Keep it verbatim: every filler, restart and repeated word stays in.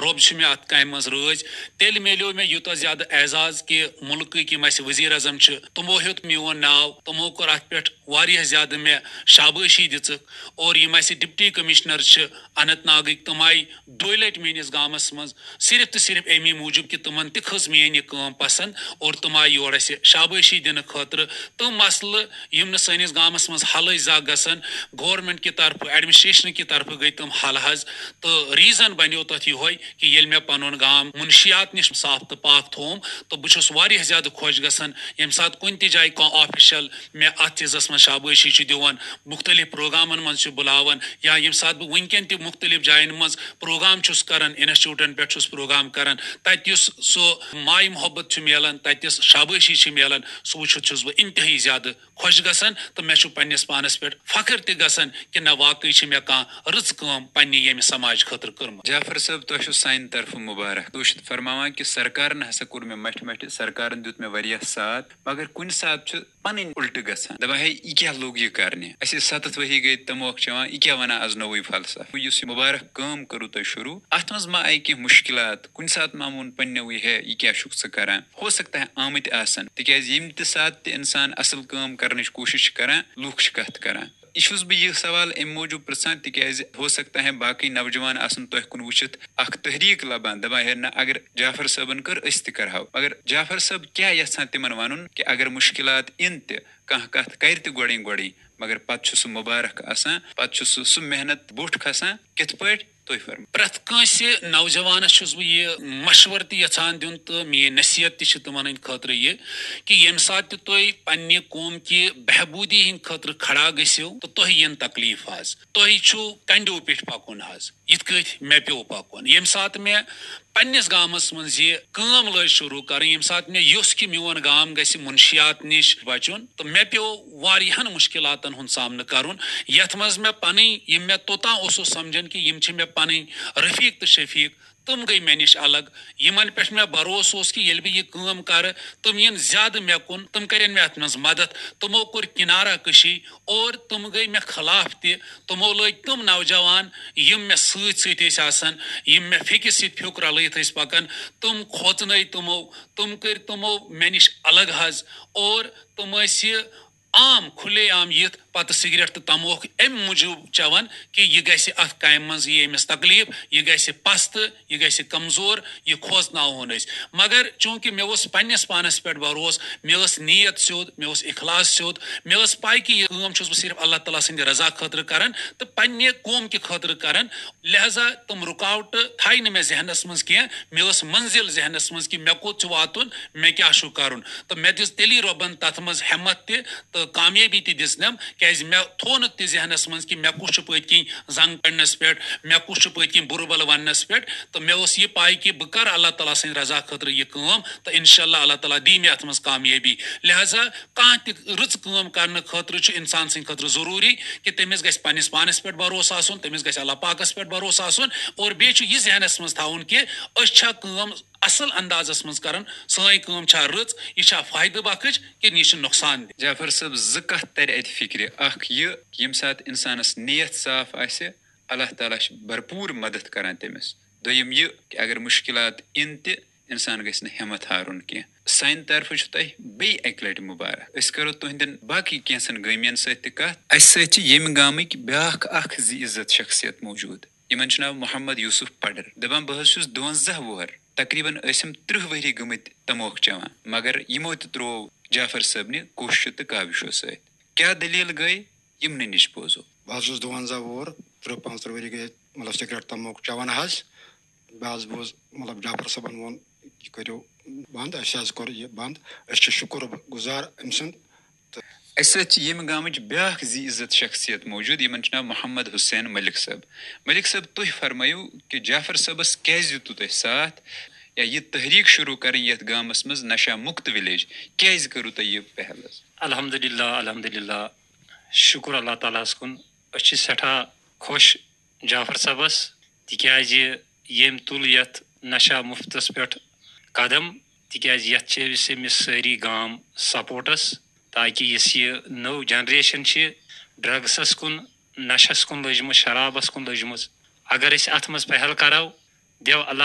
رۄب چھُ مےٚ اَتھ کامہِ منٛز رٲضۍ، تیٚلہِ میلیو مےٚ یوٗتاہ زیادٕ اعزاز کہِ مُلکٕکۍ یِم اَسہِ ؤزیٖر اعظم چھِ، تِمو ہیوٚت میون ناو، تِمو کوٚر اَتھ پٮ۪ٹھ واریاہ زیادٕ مےٚ شابٲشی دِژٕکھ۔ اور یِم اَسہِ ڈپٹی کمشنر چھِ اننت ناگٕکۍ، تِم آیہِ دۄیہِ لٹہِ میٲنِس گامس منٛز صرف تہٕ صرف اَمی موٗجوٗب کہِ تِمن تہِ کھٔژ میٲنۍ یہِ کٲم پسنٛد اور تِم آیہِ یور اَسہِ شابٲشی دِنہٕ خٲطرٕ۔ تِم مسلہٕ یِم نہٕ سٲنِس گامس منٛز حل ٲسۍ زانٛہہ گژھان، گورنمنٹ کہِ طرفہٕ، ایڈمنسٹریشن کہِ طرفہٕ گٔے تِم حل حظ۔ تہٕ ریزن بنیو تتھ یِہوے کہِ ییٚلہِ مےٚ پنُن گام منشیات نِش صاف تہٕ پاک تھووُم، تہٕ بہٕ چھُس واریاہ زیادٕ خۄش گژھان ییٚمہِ ساتہٕ کُنہِ تہِ جایہِ کانٛہہ آفیشل مےٚ اتھ چیٖزس منٛز شابٲشی چھُ دِوان، مُختٔلِف پروگرامن منٛز چھُ بُلاوان، یا ییٚمہِ ساتہٕ بہٕ وٕنکیٚن تہِ مُختٔلِف جاین منٛز پروگرام چھُس کران، انسٹیٹیوٹن پٮ۪ٹھ چھُس پروگرام کران، تَتہِ یُس سُہ ماے محبت چھُ میلان، تَتہِ یُس شابٲشی چھِ میلان، سُہ وٕچھِتھ چھُس بہٕ انتہٲیی زیادٕ خۄش گژھان تہٕ مےٚ چھُ پننِس پانس پٮ۪ٹھ فخر تہِ گژھان کہِ نہ، واقعی چھِ مےٚ کانٛہہ رٕژ کٲم پننہِ ییٚمہِ سماج خٲطرٕ کٔرمٕژ۔ جعفر صٲب، تۄہہِ چھُ سانہِ طرفہٕ مُبارک۔ تُہۍ چھِو فرماوان کہِ سرکارن ہسا کوٚر مےٚ مٹھِ مٹھِ، سرکارن دیُت مےٚ واریاہ ساتھ، مگر کُنہِ ساتہٕ چھُ پنٕنۍ اُلٹہٕ گژھان، دپان، ہے، یہِ کیٛاہ لوٚگ یہِ کرنہِ؟ اَسہِ ٲسۍ ستتھ ؤری گٔے تموکھ چٮ۪وان، یہِ کیٛاہ ونان از نوٚوُے فلسفہٕ؟ یُس یہِ مُبارک کٲم کٔرٕو تۄہہِ شروٗع، اتھ منٛز ما آیہِ کینٛہہ مُشکلات؟ کُنہِ ساتہٕ ما ووٚن پننیوٕے، ہے، یہِ کیٛاہ چھُکھ ژٕ کران؟ ہو سکتا ہے آمٕتۍ آسن، تِکیٛازِ ییٚمہِ تہِ ساتہٕ تہِ انسان اصل کٲم کرنٕچ کوٗشش چھِ کران، لوٗکھ چھِ کتھ کران۔ یہِ چھُس بہٕ یہِ سوال امہِ موٗجوٗب پرژھان، تِکیٛازِ ہو سکتا ہے باقٕے نوجوان آسن تۄہہِ کُن وٕچھِتھ اکھ تحریک لبان، دپان، ہے نہ، اگر جعفر صٲبن کٔر، أسۍ تہِ کرہو۔ مگر جعفر صٲب کیٛاہ یژھان تِمن ونُن کہِ اگر مُشکلات یِن تہِ، کانٛہہ کتھ کرِ تہِ گۄڈٕنۍ گۄڈٕنۍ، مگر پتہٕ چھُ سُہ مُبارک آسان، پتہٕ چھُ سُہ، سُہ محنت بوٚٹھ کھسان۔ کِتھ پٲٹھۍ؟ تُہۍ فرمٲیِو۔ پرٛٮ۪تھ کٲنٛسہِ نوجوانس چھُس بہٕ یہِ مشورٕ تہِ یژھان دیُن تہٕ میٲنۍ نصیحت تہِ چھِ تِمن ہٕنٛدِ خٲطرٕ یہِ کہِ ییٚمہِ ساتہٕ تہِ تُہۍ پننہِ قوم کہِ بہبوٗدی ہٕنٛدِ خٲطرٕ کھڑا گٔژھِو تہٕ تۄہہِ یِن تکلیف حظ، تۄہہِ چھُ کنڈیو پٮ۪ٹھ پکُن حظ، یِتھ کٲٹھۍ مےٚ پیوٚو پکُن۔ ییٚمہِ ساتہٕ مےٚ پننِس گامس منٛز یہِ کٲم لٲج شروٗع کرٕنۍ، ییٚمہِ ساتہٕ مےٚ یوٚژھ کہِ میون گام گژھِ منشیات نِش بچُن، تہٕ مےٚ پیوٚو واریاہن مُشکِلاتن ہُنٛد سامنہٕ کرُن، یتھ منٛز مےٚ پنٕنۍ، یِم مےٚ توٚتام اوسُس سمجھان کہِ یِم چھِ مےٚ پنٕنۍ رفیق تہٕ شفیق، تِم گٔے مےٚ نِش الگ۔ یِمن پٮ۪ٹھ مےٚ بھروسہٕ اوس کہِ ییٚلہِ بہٕ یہِ کٲم کرٕ، تِم یِن زیادٕ مےٚ کُن، تِم کرن مےٚ اتھ منٛز مدد۔ تِمو کوٚر کنارہ کشی اور تِم گٔے مےٚ خلاف تہِ۔ تِمو لٲگۍ تِم نوجوان، یِم مےٚ سۭتۍ سۭتۍ ٲسۍ آسان، یِم مےٚ فیٚکِس سۭتۍ پھیُک رلٲیِتھ ٲسۍ پکان، تِم کھوژنٲے تِمو، تِم کٔرۍ تِمو مےٚ نِش الگ حظ۔ اور تِم ٲسۍ یہِ عام، کھُلے عام یِتھ پتہٕ سگریٹ تہٕ تموکھ امہِ موٗجوٗب چٮ۪وان کہِ یہِ گژھِ اتھ کامہِ منٛز، یہِ أمِس تکلیف، یہِ گژھِ پستہٕ، یہِ گژھِ کمزور، یہِ کھوژناوہون أسۍ۔ مگر چوٗنٛکہِ مےٚ اوس پننِس پانس پٮ۪ٹھ بھروسہٕ، مےٚ ٲس نیت سیوٚد، مےٚ اوس اخلاص سیوٚد، مےٚ ٲس پاے کہِ یہِ کٲم چھُس بہٕ صرف اللہ تعالیٰ سٕنٛدِ رضا خٲطرٕ کران تہٕ پننہِ قوم کہِ خٲطرٕ کران، لہذا تِم رُکاوٹہٕ تھایہِ نہٕ مےٚ ذہنس منٛز کینٛہہ۔ مےٚ ٲس منزل ذہنس منٛز کہِ مےٚ کوٚت چھُ واتُن، مےٚ کیٛاہ چھُ کرُن۔ تہٕ مےٚ دِژ تیٚلی رۄبن تتھ منٛز ہٮ۪متھ تہِ تہٕ کامیٲبی تہِ دِژنم، کیٛازِ مےٚ تھوو نہٕ تہِ ذہنس منٛز کہِ مےٚ کُس چھُ پٔتۍ کِنۍ زنگ کڑنس پٮ۪ٹھ، مےٚ کُس چھُ پٔتۍ کِنۍ بُرٕ بل وننس پٮ۪ٹھ۔ تہٕ مےٚ اوس یہِ پاے کہِ بہٕ کرٕ اللہ تعالیٰ سٕنٛدِ رضا خٲطرٕ یہِ کٲم تہٕ انشاءاللہ اللہ تعالیٰ دی مےٚ اتھ منٛز کامیٲبی۔ لہذا کانٛہہ تہِ رٕژ کٲم کرنہٕ خٲطرٕ چھُ انسان سٕنٛدِ خٲطرٕ ضروٗری کہِ تٔمِس گژھِ پننِس پانس پٮ۪ٹھ بھروسہٕ آسُن، تٔمِس گژھِ اللہ پاکس پٮ۪ٹھ بھروسہٕ آسُن، اور بیٚیہِ چھُ یہِ ذہنس منٛز تھاوُن کہِ أسۍ چھا کٲم اصل اندازس منٛز کران، سٲنۍ کٲم چھا رٕژ، یہِ چھا فٲیدٕ بخش کِنہٕ یہِ چھِ نۄقصان دہ۔ جعفر صٲب، زٕ کتھ ترِ اتہِ فکرِ۔ اکھ یہِ کہِ ییٚمہِ ساتہٕ انسانس نیت صاف آسہِ، اللہ تعالیٰ چھُ بھرپوٗر مدد کران تٔمِس۔ دوٚیِم یہِ کہِ اگر مُشکلات یِن تہِ، انسان گژھِ نہٕ ہمت ہارُن کینٛہہ۔ سانہِ طرفہٕ چھُ تۄہہِ بیٚیہِ اکہِ لٹہِ مُبارک۔ أسۍ کرو تُہنٛدٮ۪ن باقٕے کینٛژن گٲمین سۭتۍ تہِ کتھ۔ اسہِ سۭتۍ چھِ ییٚمہِ گامٕکۍ بیٛاکھ اکھ زِ عزت شخصیت موجود۔ یِمن چھُ ناو محمد یوسف پڈر۔ دپان، بہٕ حظ چھُس دُونزہ وُہر، تقریباً ٲسِم ترٕٛہ ؤری گٔمٕتۍ تموکھ چٮ۪وان، مگر یِمو تہِ ترٛوو جعفر صٲبنہِ کوششو تہٕ کاوشو سۭتۍ۔ کیٛاہ دٔلیٖل گٔے، یِمنٕے نِش بوزو۔ بہٕ حظ چھُس دُونزہ وُہُر، ترٕٛہ پانٛژترٕٛہ ؤری گٔے، مطلب، سگریٹ تموکھ چٮ۪وان حظ۔ مےٚ حظ بوٗز، مطلب، جعفر صٲبن ووٚن، یہِ کٔرِو بنٛد، اَسہِ حظ کوٚر یہِ بنٛد۔ أسۍ چھِ شُکر گُزار أمۍ سُنٛد۔ تہٕ اَسہِ سۭتۍ چھِ ییٚمہِ گامٕچ بیٛاکھ زِ عزت شخصیت موجود، یِمن چھُ ناو محمد حسین ملک صٲب۔ ملک صٲب، تُہۍ فرمٲیِو کہِ جعفر صٲبس کیٛازِ دیُتوٕ تۄہہِ ساتھ، یا یہِ تحریٖک شروٗع کرٕنۍ یتھ گامس منٛز نشہ مُکت ولیج، کیٛازِ کٔرٕو تۄہہِ یہِ پہل حظ؟ الحمدللہ، الحمدللہ، شُکر اللہ تعالیٰ ہس کُن۔ أسۍ چھِ سٮ۪ٹھاہ خۄش جعفر صٲبس، تِکیٛازِ ییٚمۍ تُل یتھ نشہ مُفتس پٮ۪ٹھ قدم، تِکیٛازِ یتھ چھِ أسۍ أمِس سٲری گام سپورٹس، تاکہِ یُس یہِ نٔو جنریشن چھِ ڈرگسس کُن، نشس کُن لٔجمٕژ، شرابس کُن لٔجمٕژ، اگر أسۍ اتھ منٛز پہل کرو، دیو اللہ